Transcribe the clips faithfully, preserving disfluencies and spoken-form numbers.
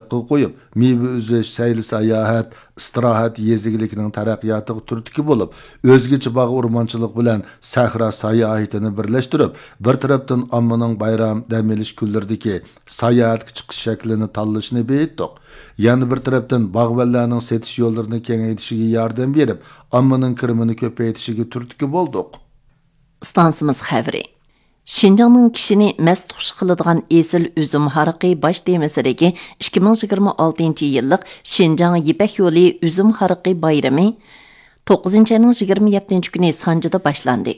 قويۇپ، مېۋە ئۈزۈش، سەيلە ساياھەت، ئىستىراھەت، يېزا ئىگىلىكىنىڭ تەرەققىياتىغا تۈرتكە بولۇپ، ئۆزگىچە باغ ئورمانچىلىق بىلەن سەھرا ساياھىتىنى بىرلەشتۈرۈپ، بىر تەرەپتىن ئاممىنىڭ بايرام، دەم ئېلىش كۈنلىرىدىكى ساياھەتكە چىقىش شەكلىنى تاللىشىنى بېيىتتۇق. يەنە بىر تەرەپتىن، باغۋەنلەرنىڭ سېتىش يوللىرىنى كېڭەيتىشىگە ياردەم بېرىپ، ئاممىنىڭ كىرىمىنى كۆپەيتىشىگە تۈرتكە بولدۇق. ئىستانسىمىز خەۋىرى. شىنجاڭنىڭ كىشىنى مەست خۇش قىلىدىغان ئېسىل ئۈزۈم ھارىقى باش تېمىسىدىكى ئىككى مىڭ يىگىرمە ئالتىنچى يىللىق شىنجاڭ يىپەك يولى ئۈزۈم ھارىقى بايرىمى توققۇزىنچى ئاينىڭ يىگىرمە يەتتىنچى كۈنى سانجىدا باشلاندى.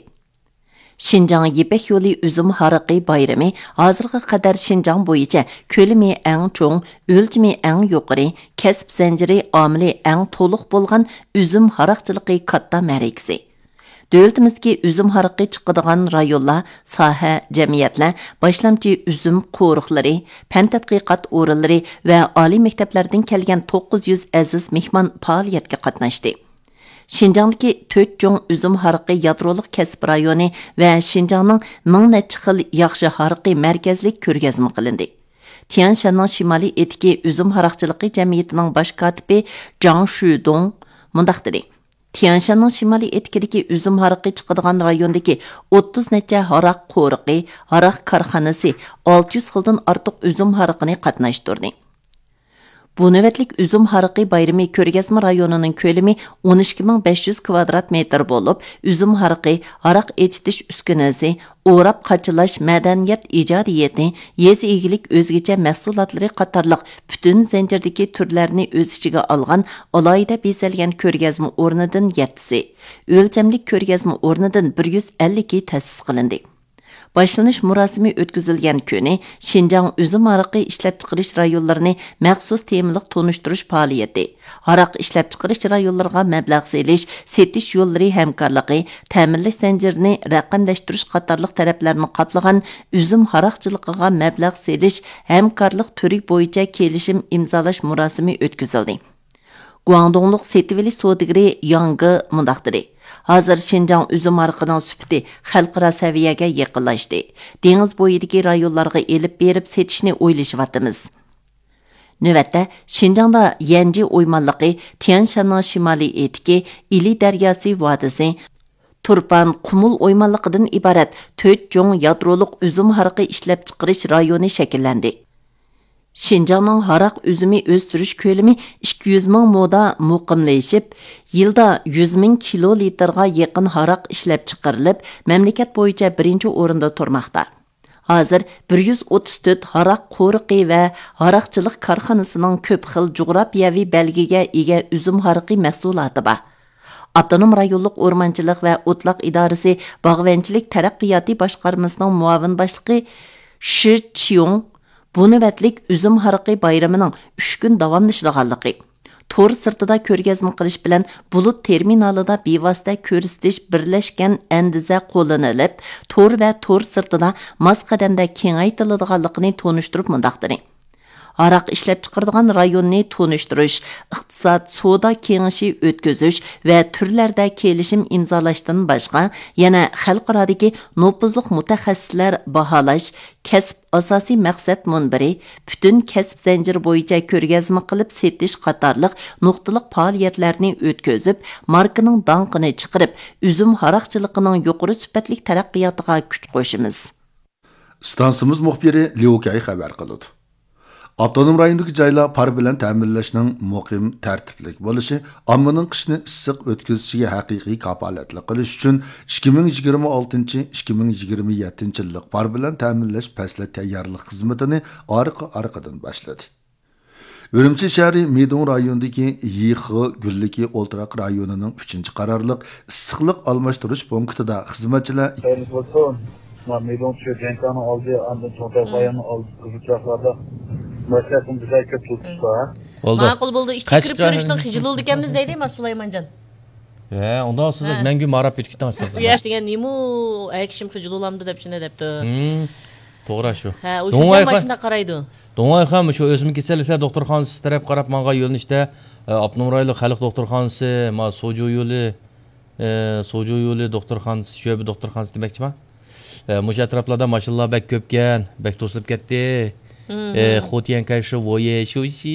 شىنجاڭ يىپەك يولى ئۈزۈم ھارىقى بايرىمى ھازىرغا قەدەر شىنجاڭ بويىچە كۆلىمى ئەڭ چوڭ، ئۆلچىمى ئەڭ يۇقىرى، كەسىپ زەنجىرى ئامىلى ئەڭ تولۇق بولغان ئۈزۈم ھاراقچىلىقى كاتتا مەرىكىسى. دۆلىتىمىزدىكى ئۈزۈم ھارىقى چىقىدىغان رايونلار، ساھە، جەمئىيەتلەر، باشلامچى ئۈزۈم قورۇقلىرى، پەن تەتقىقات ئورۇنلىرى ۋە ئالىي مەكتەپلەردىن كەلگەن توققۇز يۈز ئەزىز مېھمان پائالىيەتكە قاتناشتى. شىنجاڭدىكى تۆت چوڭ ئۈزۈم ھارىقى يادرولۇق كەسىپ رايونى ۋە شىنجاڭنىڭ مىڭ نەچچە خىل ياخشى ھارىقى مەركەزلىك كۆرگەزمە قىلىندى. تيەنشاننىڭ شىمالىي ئېتىكى ئۈزۈم ھاراقچىلىقى جەمئىيىتىنىڭ باش كاتىپى جاڭ شۈدۇڭ مۇنداق دېدى: تيەنشاننىڭ شىمالىي ئېتىكىدىكى ئۈزۈم ھارىقى چىقىدىغان رايوندىكى ئوتتۇز نەچچە ھاراق قورۇقى، ھاراق كارخانىسى ئالتە يۈز خىلدىن ئارتۇق ئۈزۈم ھارىقىنى قاتناشتۇردى. بۇ نۆۋەتلىك ئۈزۈم ھارىقى بايرىمى كۆرگەزمە رايونىنىڭ كۆلىمى ئون ئىككى مىڭ بەش يۈز كۋادرات مېتىر بولۇپ، ئۈزۈم ھارىقى، ھاراق ئېچىتىش ئۈسكۈنىسى، ئوراپ قاچىلاش مەدەنىيەت ئىجادىيىتى، يېزا ئىگىلىك ئۆزگىچە مەھسۇلاتلىرى قاتارلىق پۈتۈن زەنجىردىكى تۈرلەرنى ئۆز ئىچىگە ئالغان ئالاھىدە بېزەلگەن كۆرگەزمە ئورنىدىن يەتتىسى، ئۆلچەملىك كۆرگەزمە ئورنىدىن بىر يۈز ئەللىكى تەسىس قىلىندى. باشلىنىش مۇراسىمى ئۆتكۈزۈلگەن كۈنى شىنجاڭ ئۈزۈم ھارىقى ئىشلەپچىقىرىش رايونلىرىنى مەخسۇس تېمىلىق تونۇشتۇرۇش پائالىيىتى، ھاراق ئىشلەپچىقىرىش رايونلىرىغا مەبلەغ سېلىش، سېتىش يوللىرى ھەمكارلىقى، تەمىنلەش زەنجىرىنى رەقەملەشتۈرۈش قاتارلىق تەرەپلەرنى قاپلىغان ئۈزۈم ھاراقچىلىقىغا مەبلەغ سېلىش ھەمكارلىق تۈرى بويىچە كېلىشىم ئىمزالاش مۇراسىمى ئۆتكۈزۈلدى. گۇاڭدۇڭلۇق سېتىۋېلىش سودىگىرى ياڭ گې مۇنداق دېدى: ھازىر شىنجاڭ ئۈزۈم ھارىقىنىڭ سۈپىتى خەلقئارا سەۋىيەگە يېقىنلاشتى. دېڭىز بويىدىكى رايونلارغا ئېلىپ بېرىپ سېتىشنى ئويلىشىۋاتىمىز. نۆۋەتتە، شىنجاڭدا يەنجى ئويمانلىقى، تيەنشاننىڭ شىمالىي ئېتىكى، ئىلى دەرياسى ۋادىسى، تۇرپان، قۇمۇل ئويمانلىقىدىن ئىبارەت تۆت چوڭ يادرولۇق ئۈزۈم ھارىقى ئىشلەپچىقىرىش رايونى شەكىللەندى. شىنجاڭنىڭ ھاراق ئۈزۈمى ئۆستۈرۈش كۆلىمى ئىككى يۈز مىڭ مودا مۇقىملىشىپ، يىلدا يۈز مىڭ كىلو لىتىرغا يېقىن ھاراق ئىشلەپچىقىرىلىپ، مەملىكەت بويىچە بىرىنچى ئورۇندا تۇرماقتا. ھازىر بىر يۈز ئوتتۇز تۆت ھاراق قورۇقى ۋە ھاراقچىلىق كارخانىسىنىڭ كۆپ خىل جۇغراپىيەۋى بەلگىگە ئىگە ئۈزۈم ھارىقى مەھسۇلاتى بار. ئاپتونوم رايونلۇق ئورمانچىلىق ۋە ئوتلاق ئىدارىسى باغۋەنچىلىك تەرەققىياتى باشقارمىسىنىڭ مۇئاۋىن باشلىقى شى چيۇڭ بۇ نۆۋەتلىك ئۈزۈم ھارىقى بايرىمىنىڭ ئۈچ كۈن داۋاملىشىدىغانلىقى، تور سىرتىدا كۆرگەزمە قىلىش بىلەن بۇلۇت تېرمىنالىدا بىۋاسىتە كۆرسىتىش بىرلەشكەن ئەندىزە قوللىنىلىپ، تور ۋە تور سىرتىدا ماس قەدەمدە كېڭەيتىلىدىغانلىقىنى تونۇشتۇرۇپ مۇنداق دېدى: ھاراق ئىشلەپچىقىرىدىغان رايوننى تونۇشتۇرۇش، ئىقتىساد، سودا كېڭىشى ئۆتكۈزۈش ۋە تۈرلەردە كېلىشىم ئىمزالاشتىن باشقا، يەنە خەلقئارادىكى نوپۇزلۇق مۇتەخەسسىسلەر باھالاش، كەسىپ ئاساسىي مەقسەت مۇنبىرى، پۈتۈن كەسىپ زەنجىرى بويىچە كۆرگەزمە قىلىپ سېتىش قاتارلىق نۇقتىلىق پائالىيەتلەرنى ئۆتكۈزۈپ، ماركىنىڭ داڭقىنى چىقىرىپ، ئۈزۈم ھاراقچىلىقىنىڭ يۇقىرى سۈپەتلىك تەرەققىياتىغا كۈچ قوشىمىز. ئىستانسىمىز مۇخبىرى ليۇ كەي خەۋەر قىلىدۇ. ئاپتونوم رايوندىكى جايلار پار بىلەن تەمىنلەشنىڭ مۇقىم، تەرتىپلىك بولۇشى، ئاممىنىڭ قىشنى ئىسسىق ئۆتكۈزۈشىگە ھەقىقىي كاپالەتلىك قىلىش ئۈچۈن ئىككى مىڭ يىگىرمە ئالتىنچى، ئىككى مىڭ يىگىرمە يەتتىنچى يىللىق پار بىلەن تەمىنلەش پەسلى تەييارلىق خىزمىتىنى ئارقا-ئارقىدىن باشلىدى. ئۈرۈمچى شەھىرى مىدۇڭ رايونىدىكى يىخې گۈللۈكى ئولتۇراق رايونىنىڭ ئۈچىنچى قارارلىق ئىسسىقلىق ئالماشتۇرۇش پونكىتىدا خىزمەتچىلەر خەيرلىك بولسۇن. مانا مىدۇڭ چۈشۈپ جەڭكانىڭ ئالدى، ئاندىن چوڭتاي باياننىڭ ئالدى قىزىل چىراغلاردا ماشىنىلار بىردەك كۆپ تۇرۇپتۇ. بولدى. ماقۇل بولدى. ئىچىگە كىرىپ كۆرۈشنىڭ خىجىل بولىدىكەنمىز دەيدۇ ما سۇلايمانجان. ھە، ئۇنداق سىز مەڭگۈ ماراپ كېتىپ كېتىڭ. ياش دېگەن نېمە، ئەي كىشىم خىجىل بولامدۇ دەپ شۇنداق دەپتۇ. توغرا شۇ. ھە، ئۇ شۇ ماشىنا قارايدۇ. دۇڭئايخان شۇ ئۆسمە كېسەللىكلەر دوختۇرخانىسى تەرەپ قاراپ ماڭغان يۆنىلىشتە، ئاپتونوم رايونلۇق خەلق دوختۇرخانىسى، ما سوجۇ يولى، سوجۇ يولى دوختۇرخانىسى، شۆبە دوختۇرخانىسى دېمەكچىما؟ مۇشۇ ئەتراپلاردا ماشىنىلار بەك كۆپكەن، بەك توسۇلۇپ كەتتى. خوتيەن كەيشى ۋويې شۇشى.